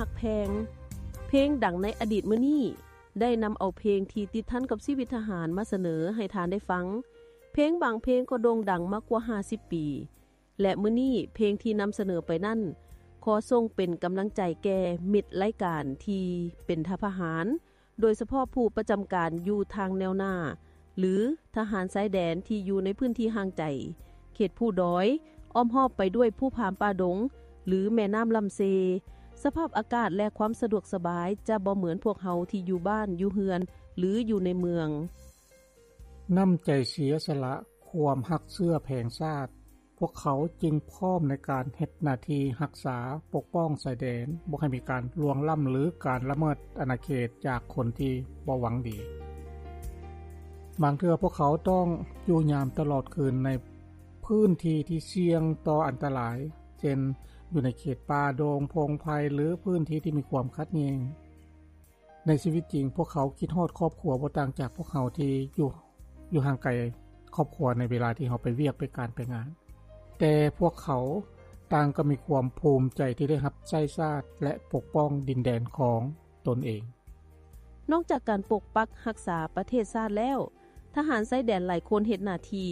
ກແພງ. ເພງດັງໃນອະດີດມື້ນີ້ ໄດ້ນຳເອົາເພງທີ່ຕິດພັນກັບຊີວິດທະຫານມາສະເໜີໃຫ້ທ່ານໄດ້ຟັງ. ເພງບາງເພງກໍໂດ່ງດັງມາກວ່າຫ້າສິບປີ ແລະ ມື້ນີ້ເພງທີ່ນຳສະເໜີໄປນັ້ນ ຂໍສົ່ງເປັນກຳລັງໃຈແກ່ມິດລາຍການທີ່ເປັນທະຫານ ໂດຍສະເພາະຜູ້ປະຈຳການຢູ່ທາງແນວໜ້າ ຫຼື ທະຫານຊາຍແດນທີ່ຢູ່ໃນພື້ນທີ່ຫ່າງໄກ, ເຂດພູດອຍ, ອ້ອມຮອບໄປດ້ວຍພູຜາປ່າດົງ ຫຼື ແມ່ນ້ຳລຳເຊ. ສະພາບອາກາດ ແລະ ຄວາມສະດວກສະບາຍຈະບໍ່ເໝືອນພວກເຮົາທີ່ຢູ່ບ້ານ, ຢູ່ເຮືອນ ຫຼື ຢູ່ໃນເມືອງ. ນ້ຳໃຈເສຍສະຫຼະ, ຄວາມຮັກເຊື້ອແຜງຊາດ, ພວກເຂົາຈຶ່ງພ້ອມໃນການເຮັດໜ້າທີ່ຮັກສາປົກປ້ອງຊາຍແດນ, ບໍ່ໃຫ້ມີການລ່ວງລ້ຳ ຫຼື ການລະເມີດອານາເຂດຈາກຄົນທີ່ບໍ່ຫວັງດີ. ບາງເທື່ອພວກເຂົາຕ້ອງຢູ່ຍາມຕະຫຼອດຄືນໃນພື້ນທີ່ທີ່ສ່ຽງຕໍ່ອັນຕະລາຍ, ເຊັ່ນ ຢູ່ໃນເຂດປ່າດົງ, ພົງໄພ ຫຼື ພື້ນທີ່ທີ່ມີຄວາມຂັດແຍ່ງ. ໃນຊີວິດຈິງ, ພວກເຂົາຄິດຮອດຄອບຄົວບໍ່ຕ່າງຈາກພວກເຮົາທີ່ຢູ່, ຢູ່ຫ່າງໄກຄອບຄົວໃນເວລາທີ່ເຮົາໄປວຽກ, ໄປການ, ໄປງານ. ແຕ່ພວກເຂົາຕ່າງກໍມີຄວາມພູມໃຈທີ່ໄດ້ຮັບໃຊ້ຊາດ ແລະ ປົກປ້ອງດິນແດນຂອງຕົນເອງ. ນອກຈາກການປົກປັກຮັກສາປະເທດຊາດແລ້ວ, ທະຫານຊາຍແດນຫຼາຍຄົນເຮັດໜ້າທີ່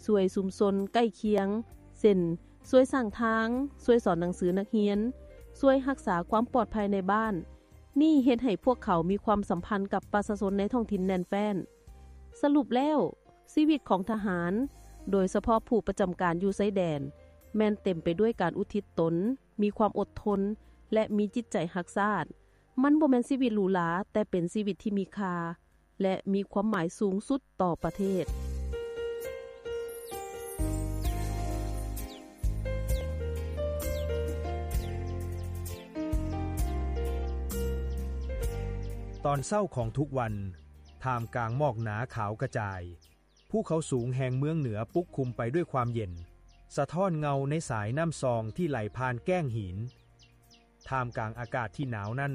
ຊ່ວຍຊຸມຊົນໃກ້ຄຽງ, ເຊັ່ນ ຊ່ວຍສ້າງທາງ, ຊ່ວຍສອນໜັງສືນັກຮຽນ, ຊ່ວຍຮັກສາຄວາມປອດໄພໃນບ້ານ. ນີ້ເຮັດໃຫ້ພວກເຂົາມີຄວາມສຳພັນກັບປະຊາຊົນໃນທ້ອງຖິ່ນແໜ້ນແຟ້ນ. ສະຫຼຸບແລ້ວ, ຊີວິດຂອງທະຫານ, ໂດຍສະເພາະຜູ້ປະຈຳການຢູ່ຊາຍແດນ, ແມ່ນເຕັມໄປດ້ວຍການອຸທິດຕົນ, ມີຄວາມອົດທົນ ແລະ ມີຈິດໃຈຮັກຊາດ. ມັນບໍ່ແມ່ນຊີວິດຫຼູຫຼາ, ແຕ່ເປັນຊີວິດທີ່ມີຄ່າ ແລະ ມີຄວາມໝາຍສູງສຸດຕໍ່ປະເທດ. ຕອນເຊົ້າຂອງທຸກວັນ, ທ່າມກາງໝອກໜາຂາວກະຈາຍ, ພູເຂົາສູງແຫ່ງເມືອງເໜືອປົກຄຸມໄປດ້ວຍຄວາມເຢັນ, ສະທ້ອນເງົາໃນສາຍນ້ຳຊອງທີ່ໄຫຼຜ່ານແກ້ງຫີນ. ທ່າມກາງອາກາດທີ່ໜາວນັ້ນ,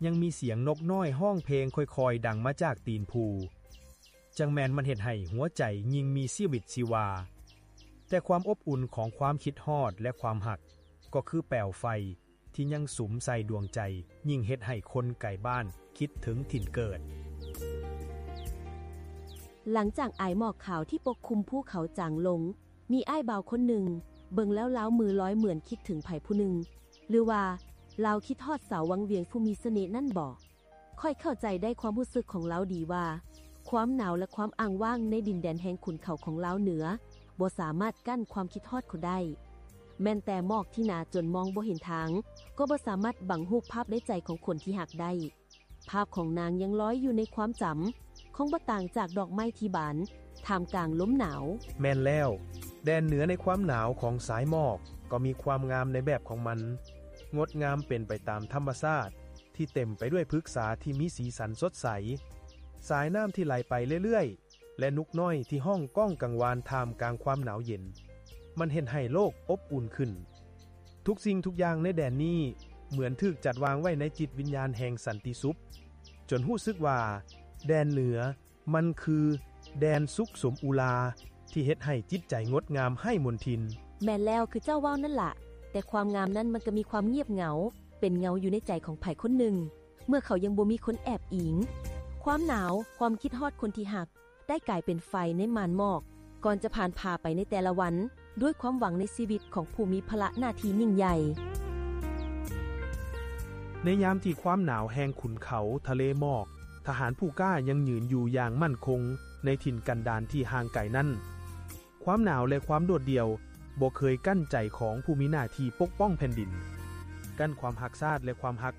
ຍັງມີສຽງນົກນ້ອຍຮ້ອງເພງຄ່ອຍໆດັງມາຈາກຕີນພູ. ຈັ່ງແມ່ນມັນເຮັດໃຫ້ຫົວໃຈຍິ່ງມີຊີວິດຊີວາ. ແຕ່ຄວາມອົບອຸ່ນຂອງຄວາມຄິດຮອດ ແລະ ຄວາມຮັກ ກໍຄືແປວໄຟທີ່ຍັງສຸມໃສ່ດວງໃຈ, ຍິ່ງເຮັດໃຫ້ຄົນໄກບ້ານຄິດເຖິງຖິ່ນເກີດ. ຫຼັງຈາກອາຍໝອກຂາວທີ່ປົກຄຸມພູເຂົາຈາງລົງ, ມີອ້າຍບ່າວຄົນໜຶ່ງ, ເບິ່ງແລ້ວລາວມືລອຍເໝືອນຄິດເຖິງໃຜຜູ້ໜຶ່ງ, ຫຼືວ່າລາວຄິດຮອດສາວວັງວຽງຜູ້ມີສະເໜ່ນັ້ນບໍ? ຂ້ອຍເຂົ້າໃຈໄດ້ຄວາມຮູ້ສຶກຂອງລາວດີວ່າ ຄວາມໜາວ ແລະ ຄວາມອ້າງວ່າງໃນດິນແດນແຫ່ງຂຸນເຂົາຂອງລາວເໜືອ ບໍ່ສາມາດກັ້ນຄວາມຄິດຮອດເຂົາໄດ້. ແມ່ນແຕ່ໝອກທີ່ໜາຈົນມອງບໍ່ເຫັນທາງ ກໍບໍ່ສາມາດບັງຮູບພາບໃນໃຈຂອງຄົນທີ່ຮັກໄດ້. ພາບຂອງນາງຍັງລອຍຢູ່ໃນຄວາມຈຳ, ຄົງບໍ່ຕ່າງຈາກດອກໄມ້ທີ່ບານທ່າມກາງລົມໜາວ. ແມ່ນແລ້ວ, ແດນເໜືອໃນຄວາມໜາວຂອງສາຍໝອກກໍມີຄວາມງາມໃນແບບຂອງມັນ, ງົດງາມເປັນໄປຕາມທຳມະຊາດທີ່ເຕັມໄປດ້ວຍພຶກສາທີ່ມີສີສັນສົດໃສ, ສາຍນ້ຳທີ່ໄຫຼໄປເລື້ອຍໆ ແລະ ນົກນ້ອຍທີ່ຮ້ອງກ້ອງກັງວານທ່າມກາງຄວາມໜາວເຢັນ. ມັນເຮັດໃຫ້ໂລກອົບອຸ່ນຂຶ້ນ. ທຸກສິ່ງທຸກຢ່າງໃນແດນນີ້ເໝືອນຖືກຈັດວາງໄວ້ໃນຈິດວິນຍານແຫ່ງສັນຕິສຸກ, ຈົນຮູ້ສຶກວ່າແດນເໜືອມັນຄືແດນສຸກສົມອຸລາທີ່ເຮັດໃຫ້ຈິດໃຈງົດງາມໄຮ້ມົນທິນ. ແມ່ນແລ້ວ, ຄືເຈົ້າເວົ້ານັ້ນລະ, ແຕ່ຄວາມງາມນັ້ນມັນກໍມີຄວາມງຽບເຫງົາ, ເປັນເຫງົາຢູ່ໃນໃຈຂອງໃຜຄົນໜຶ່ງ, ເມື່ອເຂົາຍັງບໍ່ມີຄົນແອບອີງ. ຄວາມໜາວ, ຄວາມຄິດຮອດຄົນທີ່ຮັກ, ໄດ້ກາຍເປັນໄຟໃນມ່ານໝອກ ກ່ອນຈະຜ່ານຜ່າໄປໃນແຕ່ລະວັນ ດ້ວຍຄວາມຫວັງໃນຊີວິດຂອງຜູ້ມີພາລະໜ້າທີ່ຍິ່ງໃຫຍ່. ໃນຍາມທີ່ຄວາມໜາວແຫ່ງຂຸນເຂົາທະເລໝອກ, ທະຫານຜູ້ກ້າຍັງຍືນຢູ່ຢ່າງໝັ້ນຄົງໃນຖິ່ນກັນດານທີ່ຫ່າງໄກນັ້ນ. ຄວາມໜາວ ແລະ ຄວາມໂດດດ່ຽວບໍ່ເຄີຍກັ້ນໃຈຂອງຜູ້ມີໜ້າທີ່ປົກປ້ອງແຜ່ນດິນ, ກັ້ນຄວາມຮັກຊາດ ແລະ ຄວາມຮັກ